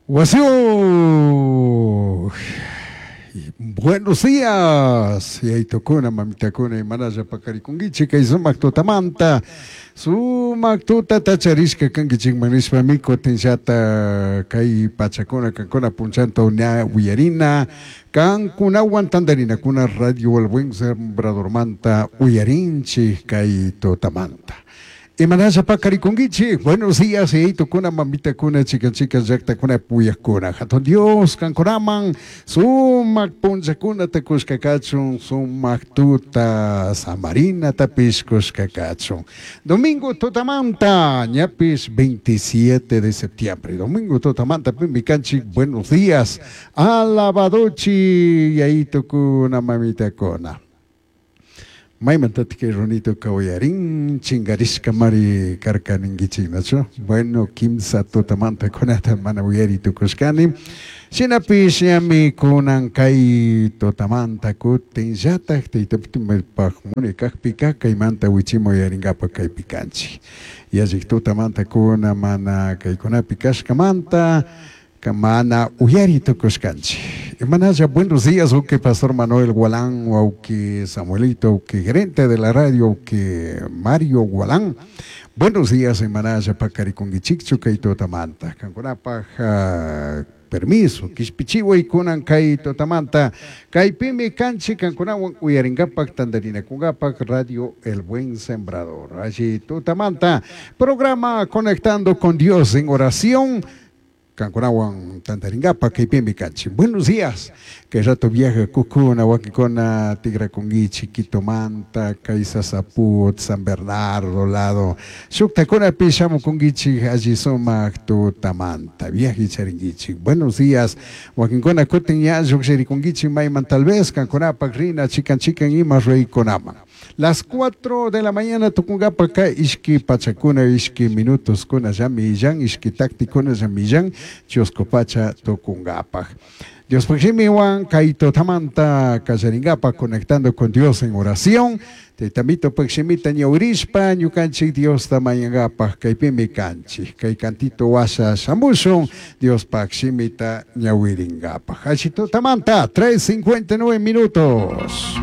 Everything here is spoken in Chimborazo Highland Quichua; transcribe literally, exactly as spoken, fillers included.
Wasiyuq. Buenos días, yaytukuna, mamitakuna, imanalla paqarikunkichik kay sumak tutamanta, sumak tutata charishka kankichikman nishpami kutinllata kay pachakuna kankuna punchanta ña uyarina kankunawan tantarinakuna Radio El Buen Sembradormanta uyarinchik kay tutamanta. Imanalla paqarikunkichik, buenos días, yaytukuna, mamitakuna, chikan chikan llaqtakuna puyakuna. Hatun Dios kankunaman sumak punllakunata kushka kachun, sumak tuta samarinatapish kushka kachun. Domingo tutamanta, ñapish veintisiete de septiembre. Domingo tutamanta pimi kanchik, buenos días. Alabadochi, yayitukuna, mamitakuna. Maymantatik kay runituka uyarin chinkarishka mari karka ninkichik, nachu? Bueno, kimsa tutamanta kunata mana uyari tukushkani. Shinapish ñami kunan kay tutamanta kutinllatak taytapaj muni kakpika kaymanta wichima uyarinkapak kaypi kanchik. Yallik tutamanta kuna mana kaykunapi kashkamanta mana uyari tukushkanchik. Imanalla, buenos días, uki Pastor Manuel Gualán, uki Samuelito, uki gerente de la radio, uki Mario Gualán. Buenos días, imanalla paqarikunkichikchu kay tutamanta. Kankunapaj uh, permiso, kishpichiway kunan kay tutamanta. Kaypimi kanchik kankunawan uyarinkapak tantarinakunkapak Radio El Buen Sembrador. Allí tutamanta, programa Conectando con Dios en Oración. Kankunawan tantarinkapak kaypimi kanchik. Buenos días. Kay rato viaje kukuna, wakikuna, tigrakunkichik, Quitomanta, Kaisasaput, San Bernardo, lado. Shuktakunapi shamukunkichik, alli sumak tutamanta. Viaje charinkichik. Buenos días. Wakinkuna kutin ña lluqshirikunkichik mayman tal vez kankunapak rina chikan chikan ima ruykunaman. Las cuatro de la mañana tukunkapa ka ishki pachakuna, ishki minutos kuna llamillan, ishki taktikuna llamillan, chusku pacha tukunkapaj. Dios shimiwan kay tutamanta kallaringapa conectando con Dios en oración. Taytamito paj shimita ñawirishpa ñukanchik Diosta mañangapaj kaypimi kanchik. Kay cantito washa shamushun Dios paj shimita ñawiringapaj. Alli tutamanta, tres cincuenta y nueve minutos.